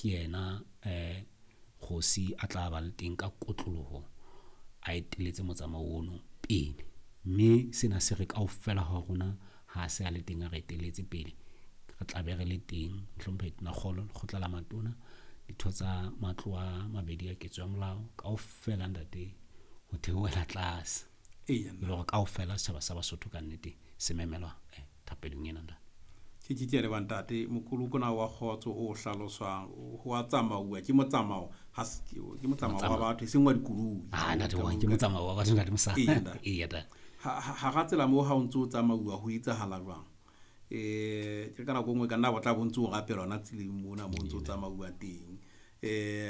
Ke yena kgosi a tla ba le teng ka kotloloho, a eteletse motsamao ono pele. Mme sena se re kaofela ha rona ha se a le teng a re eteletse pele, re tla be re le teng. Mohlomphehi Tonakgolo, lekgotla la matona, ditho tsa matlo a mabedi a ketso ya molao kaofela ntate, ho theohela tlase. Eya. E le hore kaofela setjhaba sa Basotho ka nnete se memelwa thapelong ena ntate. Ke a leboha ntate. Mokoloko ona wa kgotso o hlaloswang ho a tsamauwa, ke motsamao, ha se ke motsamao wa batho e seng wa dikoloi. Ah ntate, wa ke motsamao wa batho ntate Mosa. Eya, ntate. Eya ntate. Hara tsela moo ha o ntso o tsamauwa ho etsahala jwang? Ke ka nako e nngwe ka nna bo tla bo ntso o rapela hona tseleng mona mo ntso o tsamauwa teng.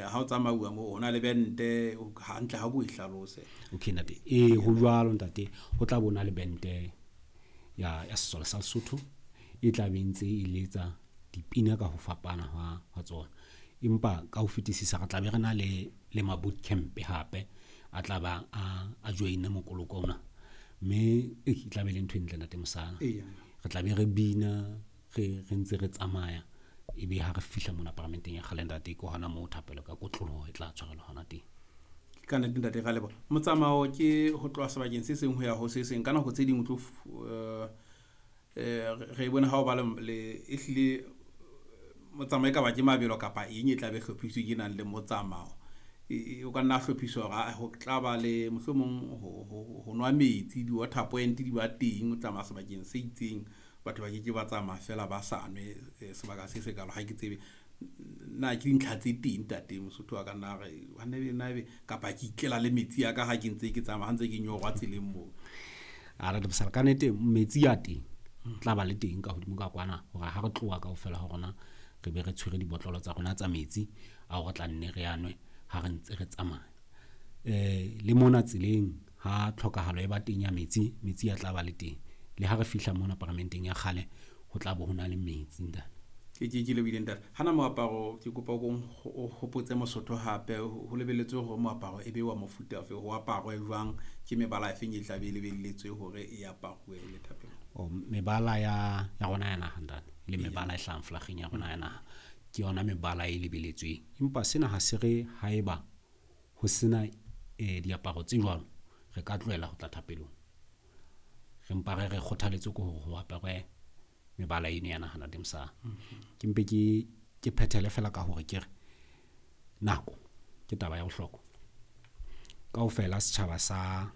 Ha o tsamauwa moo ho na le bente hantle ha ko e hlalose. Okay ntate. Ho jwalo ntate, ho tla bona le bente ya sesole sa Lesotho e tla be ntse e letsa dipina ka ho fapana ha tsona. Empa ka ho fetisisa re tla be re na le ma boot camp hape a tla ba a join mokoloko ona. Mme e tla be le ntho e ntle ntate Mosana. Eya. Re tla be re bina, re ntse re tsamaya, ebe ha re fihla mona paramenteng ya kgale ntate, ke hona moo thapelo ka kotloloho e tla tshwarelwa hona teng. Ke ka nnete ntate, ra leboha. Motsamao ke ho tloha sebakeng se seng ho ya ho se seng. Ka nako tse ding o tlo re bone ha o ba le ehlile motsamao e ka ba ke mabelo kapa eng e tla be hlophisitswe ke nang le motsamao. O ka nna hlophiswa hore ho tla ba le mohlomong ho nwa metsi, di-water point di ba teng, o tsamaya sebakeng se itseng, batho ba keke ba tsamaya fela ba sa nwe sebaka se sekalo. Ha ke tsebe na ke dintlha tse teng ntate Mosotho wa ka nna re hanne be nna ebe kapa ke itlela le metsi a ka ha ke ntse ke tsamaya, ha ntse ke nyorwa tseleng moo. A re Mosala, ka nnete metsi a teng tla ba le teng ka hodimo ka kwana, hore ha re tloha kaofela ha rona re be re tshwere dibotlolo tsa rona tsa metsi ao re tla nne re a nwe ha re ntse re tsamaya. Le mona tseleng ha tlhokahalo e ba teng ya metsi, metsi a tla ba le teng. Le ha re fihla mona paramenteng ya kgale ho tla bo ho na le metsi ntate. Ke lebohile ntate. Hana moaparo ke kopa o hopotse Mosotho hape, ho lebelletswe hore moaparo e be wa mofuta ofe, ho aparwe jwang, ke mebala e feng e tla be e lebelletswe hore e aparwe le thapelo? O, mebala ya rona ya naha ntate, le mebala e hlahang flageng ya rona ya naha, ke yona mebala e lebelletsweng. Empa sena ha se re haeba ho sena diaparo tse jwalo re ka tlohela ho tla thapelong. Re mpa re kgothaletswe ke hore ho aparwe mebala eno ya naha ntate Mosa. Ke mpe ke phethele fela ka hore ke re nako ke taba ya bohlokwa. Kaofela setjhaba sa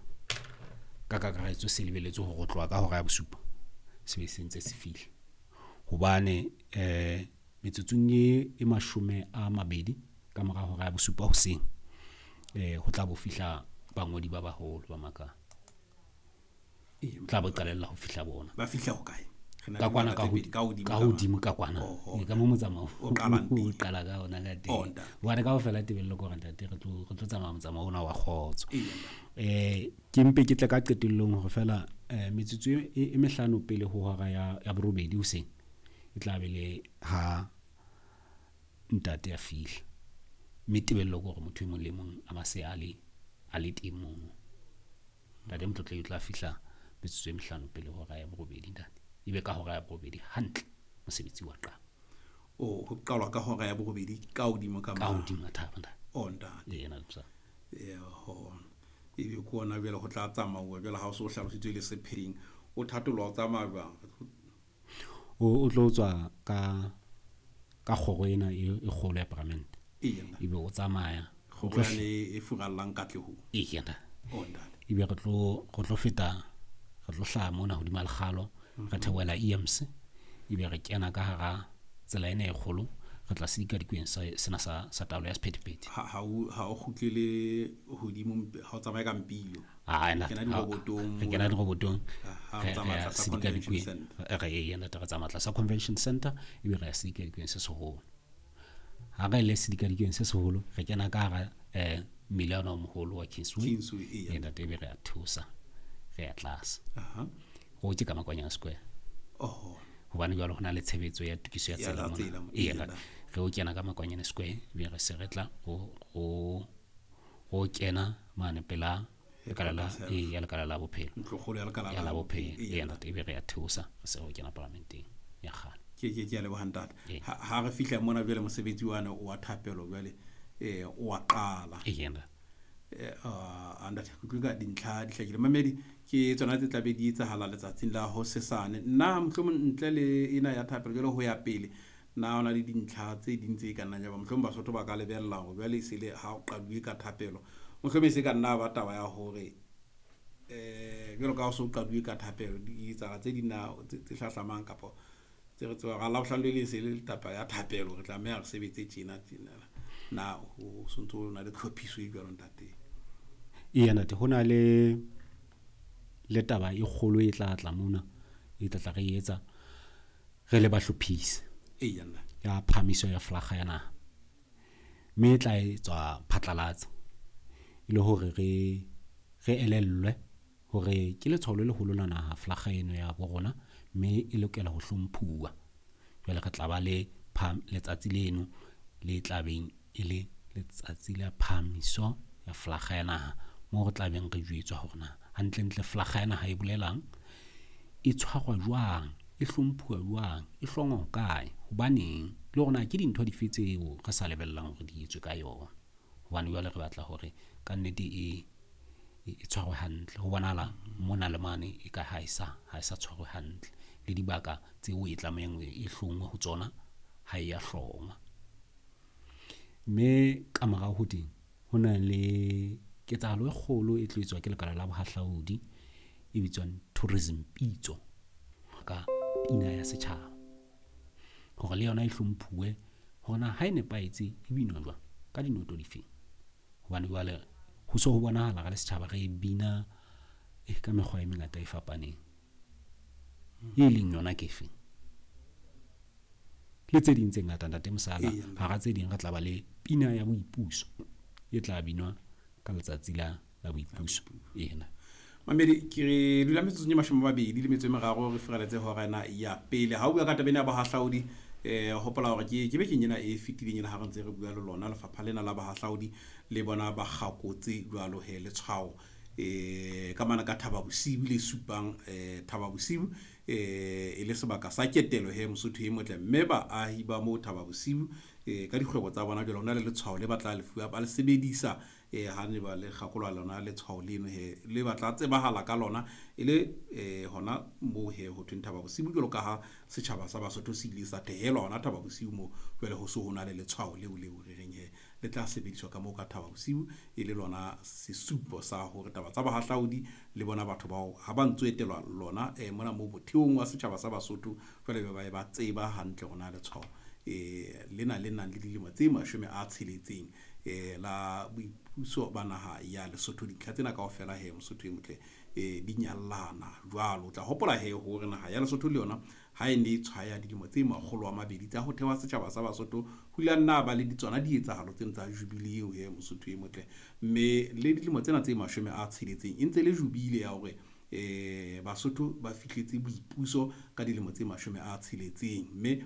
ka kakaretso se lebelletswe hore ho tloha ka hora ya bosupa se be se ntse se fihla. Hobane metsotsong e 20 ka mora hora ya bosupa hoseng, ho tla bo fihla bangodi ba baholo ba makala. Tla bo qalella ho fihla bona. Ba fihla ho kae? Ka kwana, ka hodimo, ka hodimo ka kwana. Ka mo motsamao. O qalang teng. O qala ka ona ka teng. Oh, ntate. Hobane kaofela tebello ke hore ntate re tlo tsamaya motsamao ona wa kgotso. Eya. Ke mpe ke tle ka qetellong hore fela metsotso e mehlano pele ho hora ya borobedi hoseng e tla be le ha ntate a fihla. Mme tebello ke hore motho e mong le mong a ba se a le teng mono. Ntate Motlotlehi o tla fihla metsotso e mehlano pele ho hora ya borobedi ntate. Ebe ka hora ya borobedi hantle mosebetsi wa qala. O, ho qalwa ka hora ya borobedi ka hodimo ka Ka hodimo a thaba ntate. O, ntate. Ee, ntate Mosa. Ee, ho. Ebe ke ona jwale ho tla tsamauwa jwale ha o so hlalositswe le sepheng. O thatolwa o tsamaya jwang? O tlo tswa ka kgoro ena e kgolo ya paramente. Ee, ntate. Ebe o tsamaya. Kgoro yane e furallang Katlehong. Ee, ntate. O, ntate. Ebe re tlo feta, re tlo hlaha mona hodima lekgalo, re theohela EMC, ebe re kena ka hara tsela ena e kgolo, re tla sedikadikweng sena sa taolo ya sephethephethe. Ha o kgutlele hodimo, ha o tsamaye ka mpilo. Ah, Re kena dirobotong re kena dirobotong. Ha, re Re tsamaya ya tlasa sedikadikweng. Convention Center. Re e ntate, re tsamaya tlasa Convention Center, ebe re ya sedikadikweng se seholo. Ha re le sedikadikweng se seholo, re kena ka hara mmila ona o moholo wa Kingsway. Kingsway, eya. Ee, ntate, ebe re a theosa, re ya tlase. Aha. Ho ke ka Makwanyane Square. Oho. Hobane jwale ho na le tshebetso ya tokiso ya Ya tsela mona. tsela mo- Ee, eya, ntate. Re o kena ka Makwanyane Square, ebe re se re tla ho kena mane pela lekala la, Headquarters ee, ya lekala la bophelo. Ntlokgolo ya lekala Ya la la bophelo. Ee, Ee, ntate, ebe re a theosa, re se re o kena paramenteng ya kgale. Ke a leboha, ntate. Ha re fihla mona jwale, mosebetsi wane wa thapelo jwale o wa qala. Ntate, ke utlwe ka dintlha di hlakile. Mamedi, ke tsona tse tlabe di etsahala letsatsing la hosesane. Nna mohlomong ntle le ena ya thapelo jwale ho ya pele, na hona le dintlha tse ding tse ka nnang ya ba mohlomong Basotho ba ka lebella hore jwale e se le ha o qaduwe ka thapelo, mohlomong e se ka nna ba taba ya hore jwalo ka ha o so qaduwe ka thapelo, di etsahala tse ding na tse hlahlamang kapa tse re tseba Labohlano le leng se le taba ya thapelo, re tlameha re sebetse tjena tjena? Na ho sontso ho na le tlhophiso e jwalo, ntate? Eya, ntate, ho na le taba e kgolo e tla tla mona, e tla tla re etsa re le bahlophisi ya phahamiso ya flaga ya naha, mme e tla etswa phatlalatsa e le hore re elellwe hore ke letshwao le leholo la naha flaga eno ya bo rona, mme e lokela ho hlomphuwa. Jwale re tla ba le letsatsi leno le tlabeng e le letsatsi la phahamiso ya flaga ya naha, moo re tlabeng re jwetswa hore na hantlentle flaga ya naha e bolelang, e tshwarwa jwang, e hlomphuwa jwang, e hlongwa hokae, hobaneng, le hore na ke dintho dife tseo re sa lebellang hore di etswe ka yona. Hobane jwale re batla hore kannete e tshwarwe hantle. Ho bonahala mona le mane e ka ha e sa tshwarwe hantle, le dibaka tseo e tlamehang e hlongwe ho tsona ha e ya hlongwa. Mme ka morao ho teng ho na le ketsahalo e kgolo e tlo etswa ke lekala la bohahlaudi e bitswang Tourism Pitso, ka pina ya setjhaba, hore le yona e hlomphuwe, hore na ha e nepahetse e binwa jwang, ka dinoto difeng. Hobane jwale ho so ho bonahala re le setjhaba re bina ka mekgwa e mengata e fapaneng, e leng yona ke efeng, le tse ding tse ngata, ntate Mosala. Hara tse ding re tla ba le pina ya boipuso e tla binwa ka letsatsi la boipuso ena. Mamedi, ke re dula metsotsong e 23 re fereletse hora ena ya pele. Ha o bua ka taba ena ya bohahlaudi, hopola hore ke bekeng ena e fetileng ena ha re ntse re bua le lona lefapha lena la bohahlaudi, le bona ba kgakotse jwalo he letshwao ka mane ka Thaba Bosiu, le supang Thaba Bosiu e le sebaka sa ketelo he, Mosotho e motle. Mme baahi ba moo Thaba Bosiu ka dikgwebo tsa bona jwale ho na le letshwao le batla lefuwa, ba le sebedisa ha ne ba le kgakolwa lona letshwao leno he, le batla tsebahala ka lona e le hona moo he ho thweng Thaba Bosiu, jwalo ka ha setjhaba sa Basotho se ile sa thehelwa hona Thaba Bosiu moo. Jwale ho so ho na le letshwao leo re reng he le tla sebediswa ka moo ka Thaba Bosiu, e le lona sesupo sa hore taba tsa bohahlaudi le bona batho bao ha ba ntso etelwa lona mona moo motheong wa setjhaba sa Basotho, jwale be ba tseba hantle hore na letshwao lena le nang le dilemo tse 60 la boipuso ba naha ya Lesotho. Dintlha tsena kaofela he, Mosotho e motle, di nyallana jwalo. O tla hopola he hore naha ya Lesotho le yona ha e ne e tshwaya dilemo tse 200 tsa ho thewa setjhaba sa Basotho, ho ile nna ba le tsona dietsahalo tseno tsa jubile eo he, Mosotho e motle. Mme le dilemo tsena tse 60 e ntse le jubile ya hore Basotho ba fihletse boipuso ka dilemo tse 60, mme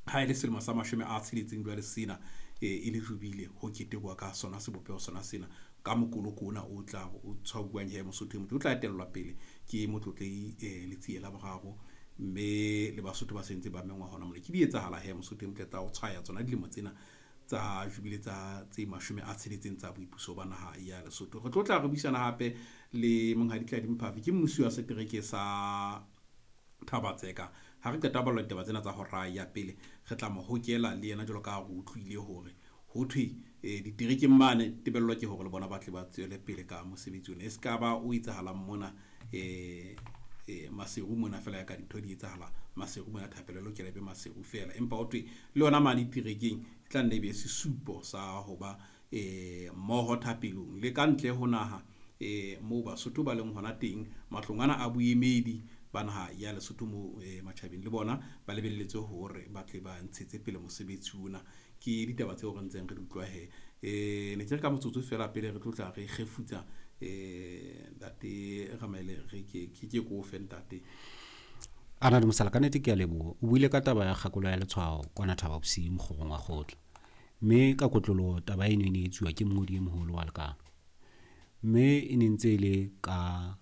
ha e le selemo sa 60 jwale sena e le jubile ho ketekwa ka sona sebopeho sona sena ka mokoloko ona o tla o tshwauwang he, Mosotho e motle, o tla etellwa pele ke Motlotlei Letsie la Boraro, mme le Basotho ba sentse ba mengwa hona mona. Ke di etsahala he, Mosotho e motle, tsa ho tshwaya tsona dilemo tsena tsa jubile tsa tse 60 tsa boipuso ba naha ya Lesotho. Re tlo tla re buisana hape le Monghadi Tladi Mphafi, ke mmusi wa setereke sa Thaba-Tseka. Ha re qeta ballwa ditaba tsena tsa hora ya pele, re tla mo hokela le yena jwalo ka ha re utlwile hore ho thwe diterekeng mane tebello ke hore le bona ba tle ba tswele pele ka mosebetsi ona, e se ka ba o etsahalang mona Maseru mona fela, ya ka dintho di etsahala Maseru mona, thapelo e lokela e be Maseru fela, empa ho thwe le yona mane diterekeng e tla nne e be sesupo sa ho ba mmoho thapelong. Le ka ntle ho naha moo Basotho ba leng hona teng, matlong ana a boemedi ba naha ya Lesotho moo matjhabeng, le bona ba lebelletse hore ba tle ba ntshetse pele mosebetsi ona. Ke ditaba tseo re ntseng re di utlwa he. Ne ke re ka motsotso fela pele re tlo tla re kgefutsa, ntate Ramaele, re ke ko fe, ntate. Ana le mosala, ka nnete ke a leboha. O buile ka taba ya kgakolo ya letshwao kwana Thaba Bosiu mokgorong wa kgotla, mme ka kotloloho taba eno e ne e etsuwa ke mongodi e moholo wa lekala, mme e ne ntse e le ka